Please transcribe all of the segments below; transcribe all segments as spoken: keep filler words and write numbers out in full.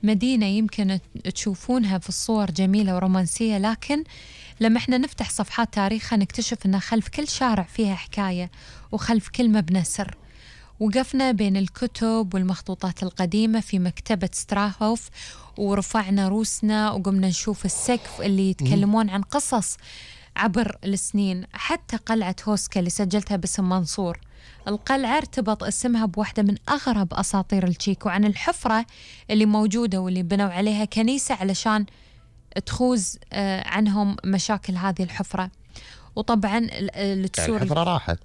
مدينة يمكن تشوفونها في الصور جميلة ورومانسية، لكن لما احنا نفتح صفحات تاريخها نكتشف أن خلف كل شارع فيها حكاية، وخلف كل مبنى سر. وقفنا بين الكتب والمخطوطات القديمة في مكتبة ستراهوف، ورفعنا روسنا وقمنا نشوف السقف اللي يتكلمون عن قصص عبر السنين. حتى قلعة هوسكا اللي سجلتها باسم منصور، القلعة ارتبط اسمها بواحدة من أغرب أساطير التشيك، وعن الحفرة اللي موجودة واللي بنوا عليها كنيسة علشان تخوز عنهم مشاكل هذه الحفرة. وطبعا التسور الحفرة راحت،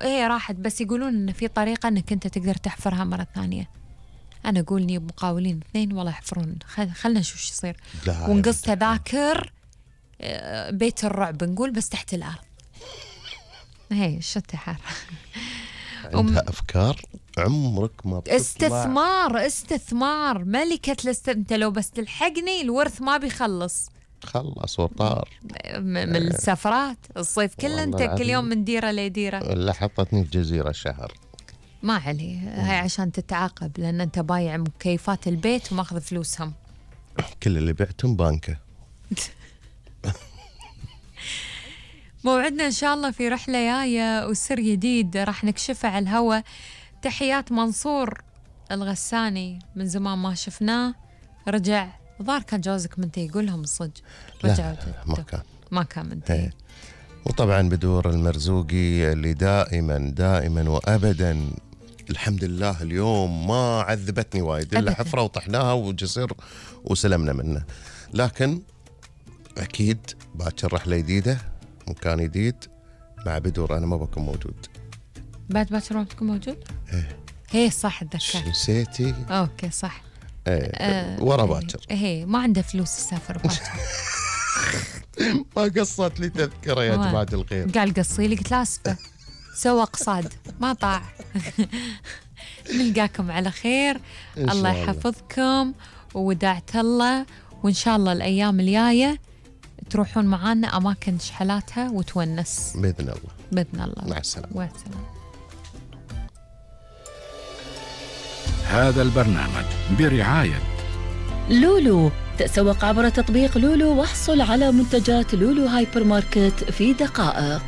هي راحت، بس يقولون إن في طريقة إنك أنت تقدر تحفرها مرة ثانية. أنا أقولني مقاولين اثنين والله يحفرون، خلنا نشوف شو يصير. ونقص تذاكر بيت الرعب نقول، بس تحت الأرض. هي شو التحر. عندها أفكار عمرك ما بتطلع. استثمار استثمار ملكة الاست... أنت لو بس تلحقني الورث ما بيخلص. خلص وطار من السفرات الصيف كله، أنت كل يوم من ديرة لديرة. اللي حطتني في جزيرة شهر ما عليه، هاي عشان تتعاقب لأن أنت بايع مكيفات البيت وماخذ فلوسهم. كل اللي بعتهم بانكه. موعدنا إن شاء الله في رحلة جاية وسر جديد راح نكشفه على الهوا. تحيات منصور الغساني، من زمان ما شفناه، رجع ظهر كان جوزك منتهي، يقول لهم الصدق رجع ما كان ما كان منتهي. وطبعا بدور المرزوقي اللي دائما دائما وأبدا الحمد لله اليوم ما عذبتني وايد إلا حفرة وطحناها وجسر وسلمنا منه. لكن أكيد باكر رحلة جديدة مكان جديد مع بدور. أنا ما بكون موجود بعد باكر ما بتكون موجود. إيه هي صح اتذكر. نسيتي؟ أوكي صح. إيه آه ورا باكر. إيه ما عنده فلوس يسافر باكر. ما قصت لي تذكرة يا جماعة الخير. قال قصي لي، قلت لا أسفة، سوى قصاد ما طاع. نلقاكم على خير، الله يحفظكم ووداعت الله، وإن شاء الله الأيام الجاية تروحون معانا أماكن شحلاتها وتونس بإذن الله. بإذن الله. مع السلامة. والسلام. هذا البرنامج برعاية لولو. تسوق عبر تطبيق لولو واحصل على منتجات لولو هايبر ماركت في دقائق.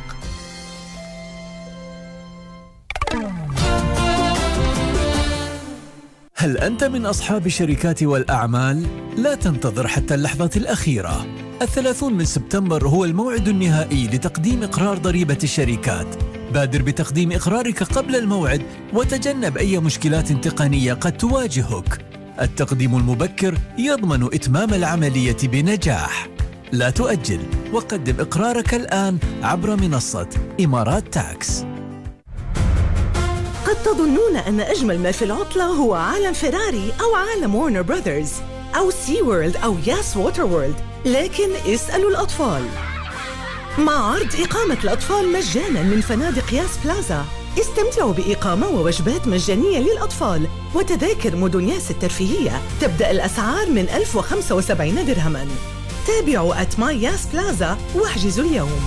هل أنت من أصحاب الشركات والأعمال؟ لا تنتظر حتى اللحظة الأخيرة. الثلاثون من سبتمبر هو الموعد النهائي لتقديم إقرار ضريبة الشركات. بادر بتقديم إقرارك قبل الموعد وتجنب أي مشكلات تقنية قد تواجهك. التقديم المبكر يضمن إتمام العملية بنجاح. لا تؤجل وقدم إقرارك الآن عبر منصة إمارات تاكس. قد تظنون أن أجمل ما في العطلة هو عالم فيراري أو عالم وارنر براذرز أو سي وورلد أو ياس ووتر وورلد، لكن اسألوا الأطفال. مع عرض إقامة الأطفال مجانا من فنادق ياس بلازا، استمتعوا بإقامة ووجبات مجانية للأطفال وتذاكر مدن ياس الترفيهية. تبدأ الأسعار من ألف وخمسة وسبعين درهما. تابعوا أت ماي ياس بلازا واحجزوا اليوم.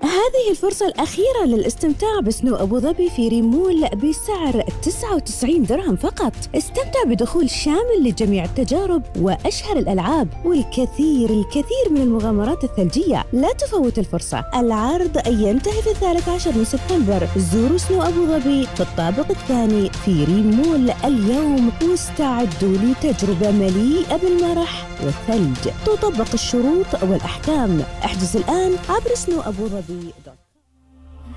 هذه الفرصة الأخيرة للاستمتاع بسنو أبو ظبي في ريمول بسعر تسعة وتسعين درهم فقط. استمتع بدخول شامل لجميع التجارب وأشهر الألعاب والكثير الكثير من المغامرات الثلجية. لا تفوت الفرصة. العرض ينتهي في الثالث عشر من سبتمبر. زوروا سنو أبو ظبي في الطابق الثاني في ريمول اليوم واستعدوا لتجربة مليئة بالمرح والثلج. تطبق الشروط والأحكام. احجز الآن عبر سنو أبو ظبي.